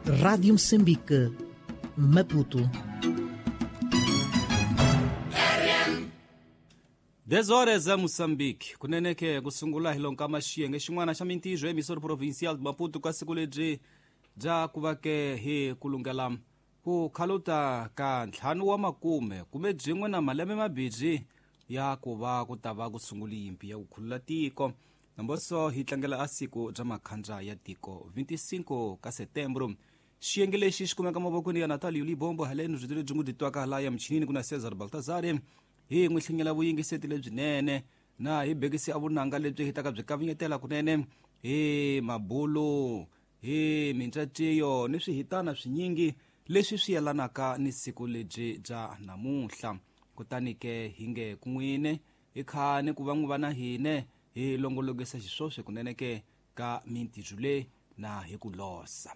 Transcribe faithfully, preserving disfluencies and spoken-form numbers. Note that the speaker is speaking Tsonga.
Rádio Moçambique, Maputo. dez horas a Moçambique kunene ke ku sungula hi lonka xiyenge xin'wana xa mintirho emissora provincial de Maputo ka siku lebyi bya ku va ke hi kulungela ku khaluta ka ntlhanu wa makume kume byin'we na malembe mabirhi ya ku va ku ta va ku sungula yimpi ya ku khulula tiko namboso hi tlangela a siku bya makhandza ya tiko vinte e cinco ka setembro. Xiyenge lexi xi kumeka mavokweni ya Natalio Libombo haleni rito lebyi n'wi byi twaka la ya michinini ku na Cesar Baltazar hi n'wi hlinyela vuyingiseti lebyinene na hi bekisi a vunanga lebyi hi taka byi kavinyetela kunene hi mabulu hi mintsaciyo ni swihitana swinyingi leswi swi yelanaka ni siku lebyi bya namuntlha. Kutani ke hi nge kun'wine hi khani ku va n'wi va na hine hi longolokisa xiswoswe kunene ke ka mintirho leyi na hi ku losa.